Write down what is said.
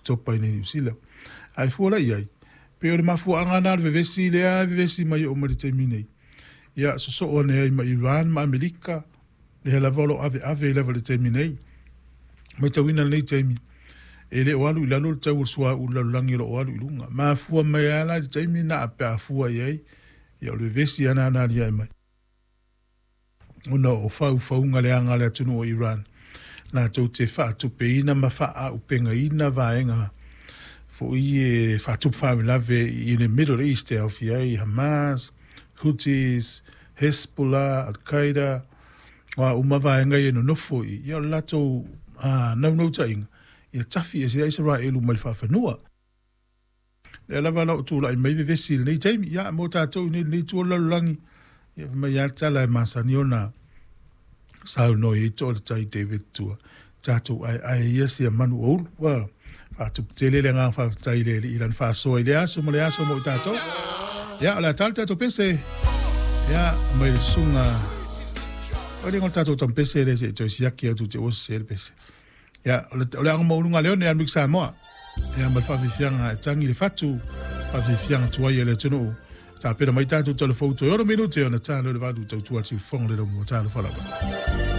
Oketopa i inei i Niu Sila. Ae fua la i ai, pei o le mafuaaga lena o le vevesi lea e vevesi mai e oo mai i le taimi nei, ia sosoo ane ai ma Iran ma Amerika, lea lava o lo o aveave ai lava i le taimi nei. Matauina i lenei taimi, e le o alu i lalo le tau o le suauu i le lalolagi o lo o alu i luga. Mafua mai lava la i le taimi lena pe a fua i ai, ia o le vevesi lava lena na aliae mai. Ona o faufauga leaga a le atunuu o Iran, latou te faatupeina ma faaaupegaina vaega foi e faatupu faalavelave i le Middle East e aofia ai Hamas, Houthis, Hezbollah, Al-Qaeda, o a uma vaega ia e nonofo i i, ia o le latou naunautaiga, ia tafi ese ai Isaraelu mai le faafanua. Lea lava la o tulai mai vevesi i lenei taimi, ia mo tatou i lenei itu o le lalolagi, ia fai mai lava le tala e masani ona saunoa i ai Toa o le Tai David Tua, tatou aeae ia sia manu o ulu. Ua faatupu tele le agaga faafetai i le Alii i lana faasoa i lea aso ma lea aso mo i tatou. Ia, o le a tali tatou pese. Ia, mai le susuga. O le tatou tampese le se i toe siaki atu te ua sese le pese. Ia, o le aoga maualuga a Leone ia Mix Samoa. Ia, ma le faafiafiaga e tagi le fatu, faafiafiaga tuai a le atunuu. Tapena mai tatou tala fou toe 6 minute ona ta lea o le 8 tautua le siufofoga o le laumua. Talofa lava.